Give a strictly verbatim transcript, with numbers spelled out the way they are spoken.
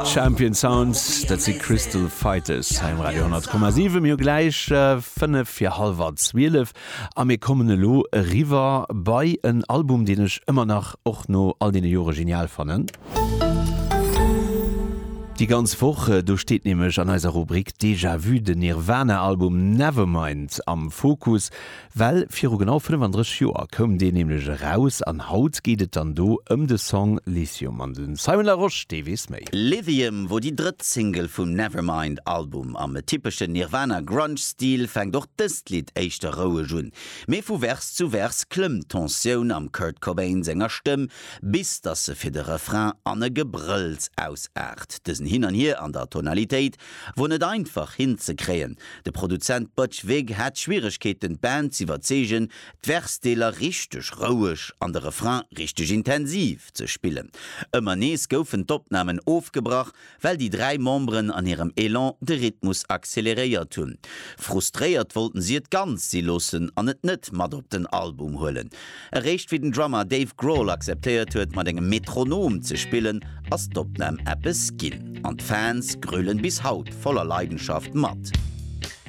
Champion Sounds, dat si Crystal Fighters hei um Radio honnert Komma siwen. Mir hu gläich fënnef fir hallwer zwielef a mir kommen elo eriwwer bei en Album, deen ech ëmmer nach, och no all deene Jore genial fannen. Déi ganz Woch, do steet nämlech an eiser Rubrik Déjà Vu den Nirvana-Album Nevermind am Fokus, well viru genau fënnefandrësseg Joer koum deen nämlech eraus an haut geet et dann do ëm de Song Lithium an de Simon Larosche, dee weess méi. Lithium wor déi drëtt Single vum Nevermind-Album. Am typeschen Nirvana-Grunge-Stil fänkt och dëst Lidd éischter roueg un, mee vu Vers zu Vers klëmmt d'Tensioun am Kurt Cobain senger Stëmm, bis dass se fir de Refrain an e Gebrëlls ausaart. Dësen Hin an Hier an der Tonalitéit wor net einfach hinzekréien. De Produzent Butch Vig hat Schwieregkeeten d'Band z'iwwerzeegen, d'Versdeeler richteg roueg an de Refrain richteg intensiv ze spillen. Ëmmer nees goufen d'Opnamen ofgebrach, well déi dräi Memberen an hirem Elan de Rhythmus acceleréiert hunn. Frustréiert wollten si et ganz si loossen an et net mat op den Album huelen. Eréischt wéi den Drummer Dave Grohl akzeptéiert huet mat engem Metronom ze spillen, ass d'Opnam eppes ginn. An d'Fans grölen bis haut voller Leidenschaft mat.